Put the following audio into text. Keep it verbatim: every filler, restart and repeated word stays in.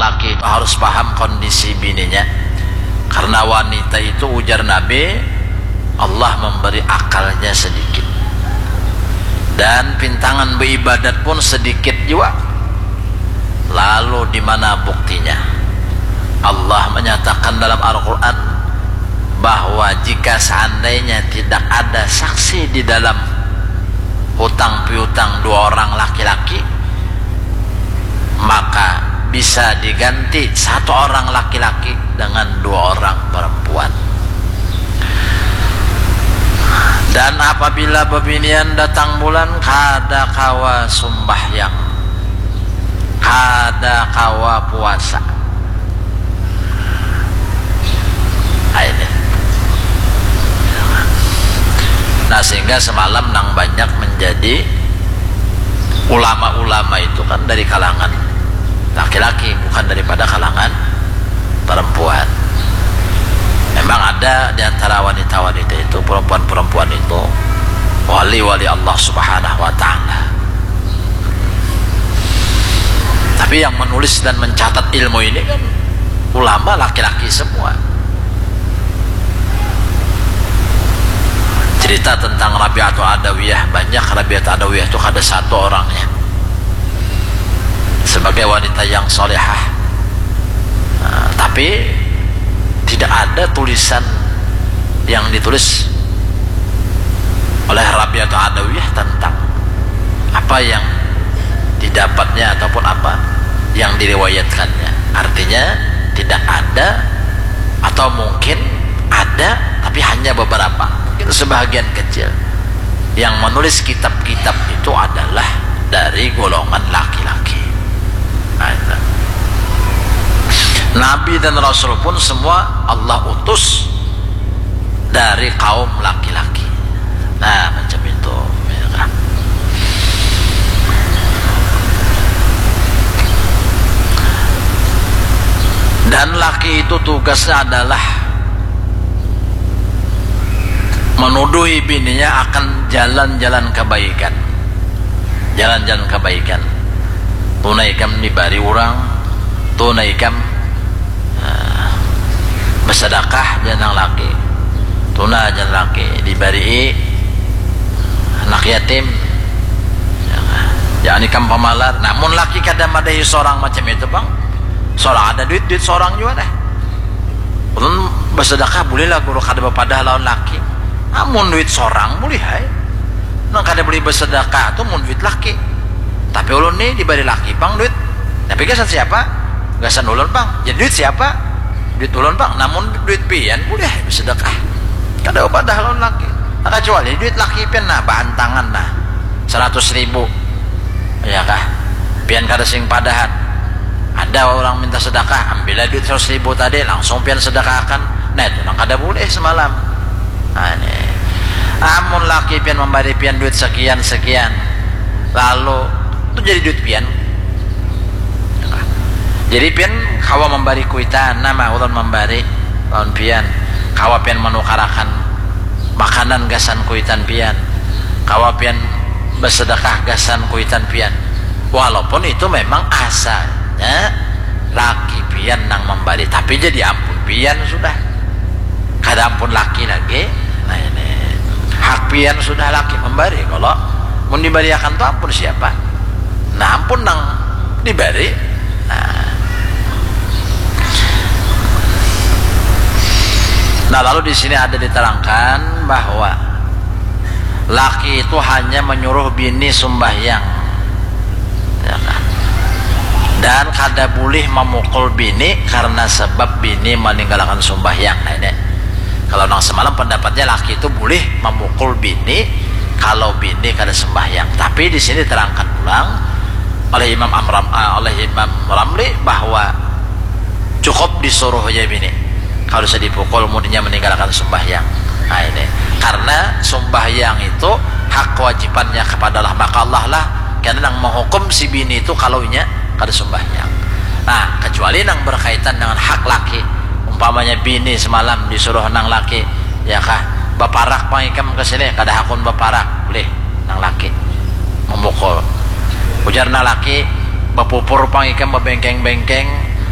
Laki itu harus paham kondisi bininya. Karena wanita itu, ujar Nabi, Allah memberi akalnya sedikit. Dan pintangan beribadat pun sedikit jua. Lalu di mana buktinya? Allah menyatakan dalam Al-Quran bahwa jika seandainya tidak ada saksi di dalam hutang piutang dua orang laki-laki, maka bisa diganti satu orang laki-laki dengan dua orang perempuan. Dan apabila bebinian datang bulan, kada kawa sumbahyang, kada kawa puasa. Nah, ini. Nah, sehingga semalam nang banyak menjadi ulama-ulama itu kan dari kalangan laki-laki, bukan daripada kalangan perempuan. Memang ada di antara wanita-wanita itu, perempuan-perempuan itu, wali-wali Allah Subhanahu wa Ta'ala. Tapi yang menulis dan mencatat ilmu ini kan ulama laki-laki semua. Cerita tentang Rabi'atul Adawiyah, banyak. Rabi'atul Adawiyah itu kada satu orangnya, sebagai wanita yang solehah. Nah, tapi tidak ada tulisan yang ditulis oleh Rabi'atul Adawiyah tentang apa yang didapatnya ataupun apa yang diriwayatkannya. Artinya, tidak ada, atau mungkin ada tapi hanya beberapa, mungkin sebahagian kecil. Yang menulis kitab-kitab itu adalah dari golongan laki-laki. Nah, itu. Nabi dan Rasul pun semua Allah utus dari kaum laki-laki. Nah, macam itu, ya kan? Dan laki itu tugasnya adalah menuduhi bininya akan jalan-jalan kebaikan. Jalan-jalan kebaikan. Tunai kam dibari urang, tunai kam, ah, bersedekah jar nang laki. Tuna jar laki, dibari anak yatim. Jangan ikam pamalar. Namun laki kada madahi sorang macam itu, Bang. Sorang ada duit, duit sorang jua dah. Ulun bersedekah boleh lah, guru, kada bapadah lawan laki. Amun duit sorang boleh ai. Nang kada boleh bersedekah tu mun duit laki. Tapi ulun ni dibari laki pang duit. Tapi gasan siapa? Gasan ulun pang. Jadi duit siapa? Duit ulun pang. Namun duit pian boleh ai bersedekah. Kada bapadah lawan laki. Nah, kecuali duit laki pian, nah, baantangan, nah, seratus ribu. Ya kah? Pian kada sing padahan. Ada orang minta sedekah, ambillah duit seratus ribu tadi, langsung pian sedekahkan. Nah, itu nang kada boleh semalam. Nah, ini. Amun laki pian membari pian duit sekian-sekian, lalu itu jadi duit pian. Jadi pian kawa membari kuitan, nama ulun membari lawan pian. Kawa pian menukarakan makanan gasan kuitan pian. Kawa pian bersedekah gasan kuitan pian. Walaupun itu memang asalnya laki pian nang membari, tapi jadi ampun pian sudah. Kada ampun laki lagi. Nah, ini hak pian sudah laki membari. Kalau mun dibariakan tu ampun siapa? Nah, ampun nang dibari. Nah. Nah, lalu di sini ada diterangkan bahwa laki itu hanya menyuruh bini sumbahyang. Ya kan? Dan kada boleh memukul bini karena sebab bini meninggalkan sumbahyang. Nah, ini. Kalau nang semalam pendapatnya laki itu boleh memukul bini kalau bini kada sembahyang. Tapi di sini diterangkan pulang oleh Imam Amram, ah, oleh Imam Ramli bahwa cukup disuruh aja bini. Kalau bisa dipukul, mudinya meninggalkan sembahyang. Nah, ini. Karena sembahyang itu hak kewajibannya kepada Allah. Maka Allah lah kena nang menghukum si bini itu kalau inya kada sembahyang. Nah, kecuali nang berkaitan dengan hak laki. Umpamanya bini semalam disuruh nang laki, ya kah, baparak pang ikam ke sini, kada hakun baparak, boleh nang laki memukul. Ujar nang laki, bapupur pang ikam, babengkeng-bengkeng,